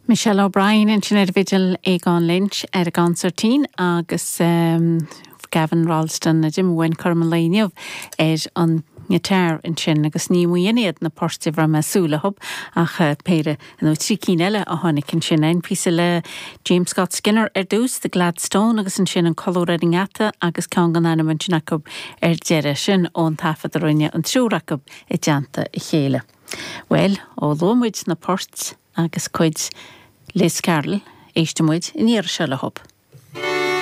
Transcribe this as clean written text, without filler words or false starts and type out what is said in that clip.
Michelle O'Brien ansin ar an bhfidil, Aogán Lynch ar an gconsairtín agus Gavin Rolleston a d'imigh uainn cothrom an lae inniu ar an ngiotár ansin agus ní amháin iad na poirt a raibh mé ag súil leo ach péire nó 3 cinn eile a tháinig ansin. An píosa le James Scott Skinner ar dtús, The Gladstone agus ansin An Colúr ar an nGeata agus ceann gan ainm ansin acu ar deireadh. Sin ón taifead a rinne an triúr acu i dteannta a chéile. Bhuel, ó luaigh muid na poirt agus cuid Liz Carroll, éistfidh muid an iarraidh seo leo.